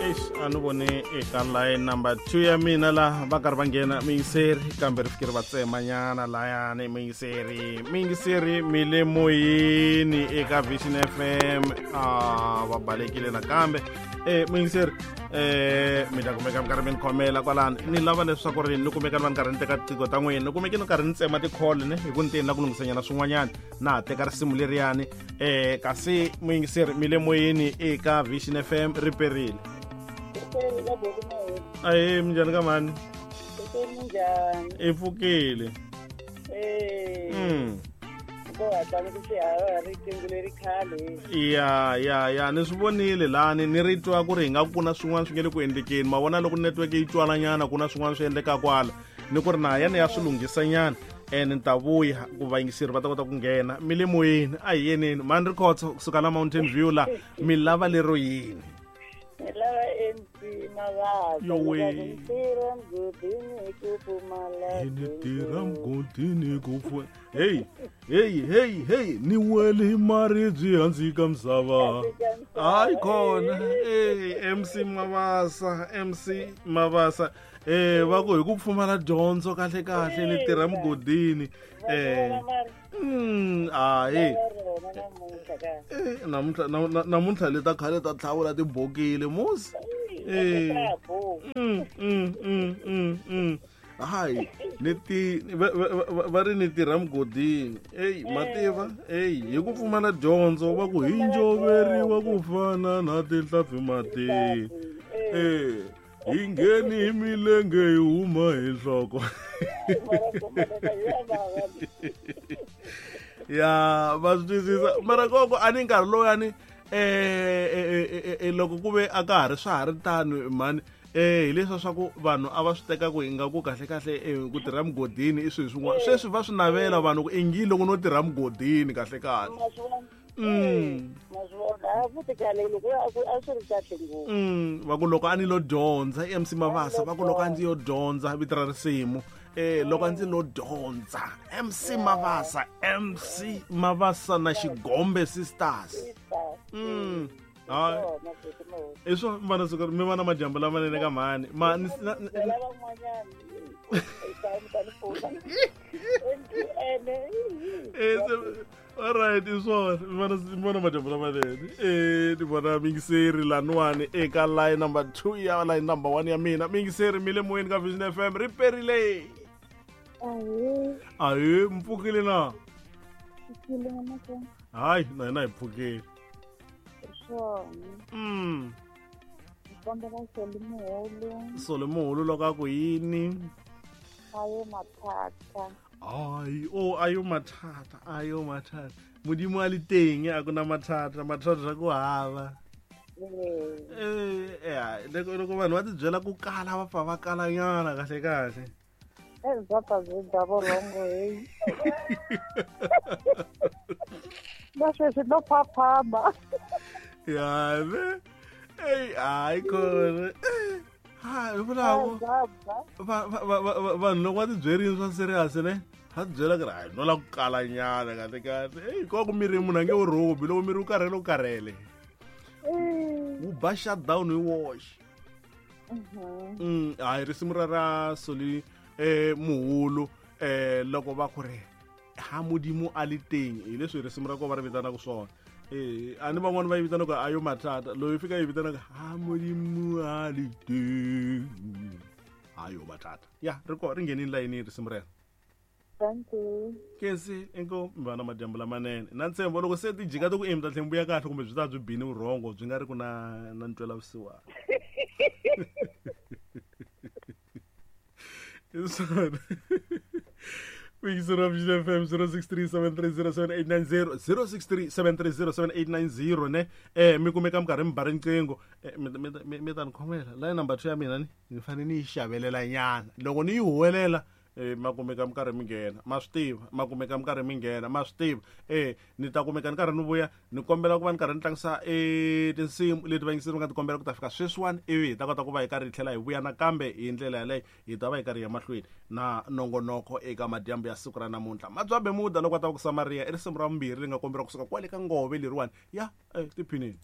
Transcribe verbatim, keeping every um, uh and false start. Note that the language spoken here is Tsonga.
Eish a ni voni eka line number two ya mina laha va karhi va nghena miyingiseri kambe ri fikeri va tsemanyana layani miyingiseri miyingiseri mi le moyeni eka Vision F M a va balekile nakambe eh miyingiseri eh mi ta kumeka mi karhi mi ni khomela kwalani ni lava leswaku ri ni kumeka ni va ni karhi ni teka tiqingho ta n'wina ni kumeke ni karhi ni tsema ti-call ne hi ku ni teni la ku lunghisanyana swin'wanyana na ha teka risimu leriyani eh kasi muyingiseri mi le moyeni eka Vision F M ri perile. Ahe minjhani ka mhani? I pfukile. Mm. Ya ya ya ni swi vonile lani ni ri twa ku ri hi nga ku na swin'wana swi nge le ku endlekeni ma vona loko network yi twalanyana ku na swin'wana swi endleka kwala ni ku ri na ya ni ya swi lunghisanyana and ni ta vuya ku vayingiseri va ta kota ku nghena mi le moyeni a hi yeneni mhani ri khotso kusuka la Mountain View la mi lava lero yini? Ni lava M C Mavasa. Yowe. Ni tirha mugodini ku pfumala. Ni tirha mugodini ku pfumala. Hey, hey, hey, hey, ni wele hi maribye hansi ka misava. Hayi khona. Hey, M C Mavasa, M C Mavasa. Eh, va ku hi ku pfumala dyondzo kahle kahle ni tirha mugodini. Eh. Mm, ayi. Eh, namuntlha namuntlha le ta khale ta tlhavula tibokile musi. Eh. Mm, mm, mm, mm, mm. Hayi, ni ti va ri ni tirha mugodini. Ey, mativa, ey, hi ku pfumala dyondzo va ku hi njoveriwa ku fana na tinhlampfi matini. Eh, hi ngheni hi milenge hi huma hi nhloko. Ya va swi twisisa mara koko a ni nkarhi lowuyani eh eh loko ku ve a ka ha ri swa ha ri tano mhani eh hi leswa swa ku vanhu a va swi teka ku ingaku kahle kahle ku tirha mugodini i swilo swin'wana sweswi va swi navela vanhu ku ingi loko no tirha mugodini kahle kahle. Mm. Mm, va ku loko a ni lo dyondza M C Mavasa va ku loko a ndzi yo dyondza vito ra risimu eh loko a ndzi lo dyondza M C Mavasa M C Mavasa na Xigombe Sisters. Mm. Hayi i swo mi vana siku mi vana madyambu lamanene ka mhani ma ni all right i swona mi vona mi vona madyambu lamanene eh ni vona mingiseri laniwani eka line number two ya line number one ya mina mingiseri mi le moyeni ka Vision F M ri perile. Ahe mi pfukile na? Hayi na hina hi pfukile. Mm. Soli muhulu loko a ku yini? Ayo mathata. Ai, oh ayo mathata, ayo mathata. Modimo a le teng a ku na mathata, mathata ku hava. Eh, eh, loko loko vanhu va tibyela ku kala va pfa va kalanyana kahle kahle. Eh, bya pfa byi dya vurhongo heyi. Na sweswi no phaphama. Ya ne. Ey, hayi khona. Ha, hi vulavo. Va va va vanhu loko va tibyerini swa serious ne? Va tibyela ku ri hayi no la ku kalanyana kahle kahle. Ey, ko ku miri munhu a nge wu rhubi loko miri wu karhele wu karhele. Wu ba shutdown hi woxe. Mm, hayi risimu ra ra Soli eh muhulu eh loko va ku ri ha Modimo a le teng hi leswi risimu ra ko va ri vitanaka swona. Eh a ni van'wani va yi vitanaka ayo mathata loyi fika yi vitanaka ha Modimo a le teng ayo mathata. Ya ri ko ri nghenini layinini risimu rero. Thank you. Kensi inko mi va na madyambu lamanene na ntshembo loko se ti jika ti ku emi ta tlhela mi vuya kahle kumbe byi ta byi bini vurhongo byi nga ri ku na na ntwela vusiwana. Hi swona. Vuyiselo Vision F M zero six three seven three zero seven eight nine zero zero six three seven three zero seven eight nine zero ne eh mi kumeka mi karhi mi ba riqingho mi mi mi ta ni khomela line number two ya mina ni ni fanele ni yi xavelela nyana loko ni yi huwelela eh ma kumeka mi karhi mi nghena ma swi tiva ma kumeka mi karhi mi nghena ma swi tiva eh ni ta kumeka ni karhi ni vuya ni kombela ku va ni karhi ni tlangisa eh tinsimu leti vayingiseri va nga ti kombela ku ta fika sweswiwani ivi hi ta kota ku va hi karhi hi tlhela hi vuya nakambe hi ndlela yaleyo hi ta va hi karhi hi ya mahlweni na nongonoko eka madyambu ya siku ra namuntlha. Madzwa Bemuda loko a ta va ku Samaria i risimu ra vumbirhi leri nga komberiwa kusuka kwale ka ngove leriwani ya eh tiphinini.